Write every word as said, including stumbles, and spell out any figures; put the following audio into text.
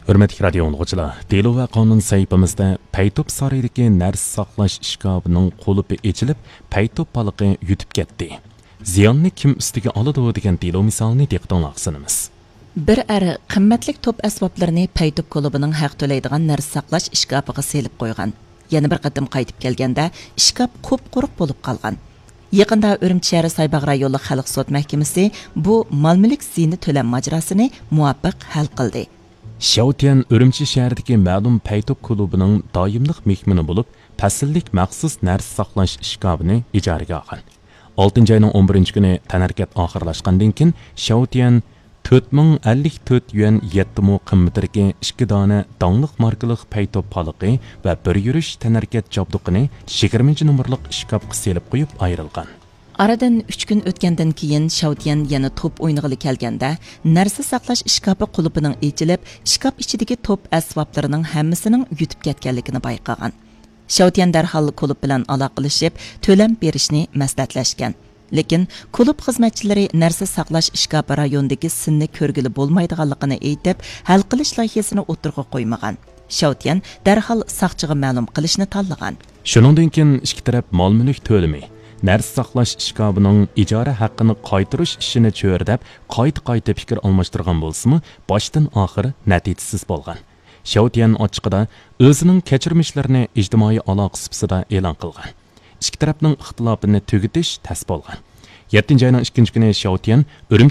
ھۆرمەتلىك رادىيو ئاڭلىغۇچىلار، دېلو ۋە قانۇن سەھىپىمىزدە پەيتوپ سارىيىدىكى نەرسە ساقلاش ئىشكاپىنىڭ قۇلۇپى ئېچىلىپ، پەيتوپ پالىقى يۈتۈپ كەتتى. زىياننى كىم ئۈستىگە ئالىدۇ دېگەن دېلو مىسالىنى دىققىتىڭلارغا سۇنىمىز. بىر ئەر قىممەتلىك توپ ئەسۋابلىرىنى پەيتوپ كۇلۇبىنىڭ ھەق تۆلەيدىغان نەرسە ساقلاش ئىشكاپىغا سېلىپ قويغان. يەنە بىر قېتىم قايتىپ كەلگەندە، ئىشكاپ قۇپقۇرۇق بولۇپ قالغان. يېقىندا ئۈرۈمچى شەھىرى سايباغ رايونلۇق خەلق سوت مەھكىمىسى بۇ مال-مۈلۈك زىيىنى تۆلەم ماجىراسىنى مۇۋاپىق ھەل قىلدى. شياۋتيەن ئۈرۈمچى شەھىرىدىكى مەلۇم پەيتوپ كۇلۇبىنىڭ دائىملىق مېھمىنى بولۇپ، پەسىللىك مەخسۇس نەرسە ساقلاش ئىشكاپىنى ئىجارىگە ئالغان. ئالتىنچى ئاينىڭ ئون بىرىنچى كۈنى تەنھەرىكەت ئاخىرلاشقاندىن كېيىن، شياۋتيەن تۆت مىڭ ئەللىك تۆت يۈەن يەتتە مو قىممىتىدىكى ئىككى دانە داڭلىق ماركىلىق پەيتوپ پالىقى ۋە بىر يۈرۈش تەنھەرىكەت جابدۇقىنى يىگىرمىنچى نومۇرلۇق ئىشكاپقا سېلىپ قويۇپ ئايرىلغان. ئارىدىن ئۈچ كۈن ئۆتكەندىن كېيىن، شياۋتيەن يەنە توپ ئوينىغىلى كەلگەندە، نەرسە ساقلاش ئىشكاپى قۇلۇپىنىڭ ئېچىلىپ، ئىشكاپ ئىچىدىكى توپ ئەسۋابلىرىنىڭ ھەممىسىنىڭ يۈتۈپ كەتكەنلىكىنى بايقىغان. شياۋتيەن دەرھال كۇلۇب بىلەن ئالاقىلىشىپ، تۆلەم بېرىشنى مەسلىھەتلەشكەن. لېكىن كۇلۇب خىزمەتچىلىرى نەرسە ساقلاش ئىشكاپى رايونىدىكى سىننى كۆرگىلى بولمايدىغانلىقىنى ئېيتىپ، ھەل قىلىش لايىھەسىنى ئوتتۇرىغا قويمىغان. شياۋتيەن دەرھال ساقچىغا مەلۇم قىلىشنى تاللىغان. شۇنىڭدىن كېيىن ئىككى تەرەپ مال-مۈلۈك تۆلىمى، نەرسە ساقلاش ئىشكاپىنىڭ ئىجارە ھەققىنى قايتۇرۇش ئىشىنى چۆرىدەپ، قايتا-قايتا پىكىر ئالماشتۇرغان بولسىمۇ، باشتىن ئاخىر نەتىجىسىز بولغان. شياۋتيەن ئاچچىقىدا ئۆزىنىڭ كەچۈرمىشلىرىنى ئىجتىمائىي ئالاقە سۇپىسىدا ئېلان قىلغان. ئىككى تەرەپنىڭ ئىختىلاپىنى تۈگىتىش تەس بولغان. يەتتىنچى ئاينىڭ ئىككىنچى كۈنى شياۋتيەن ئۈرۈمچى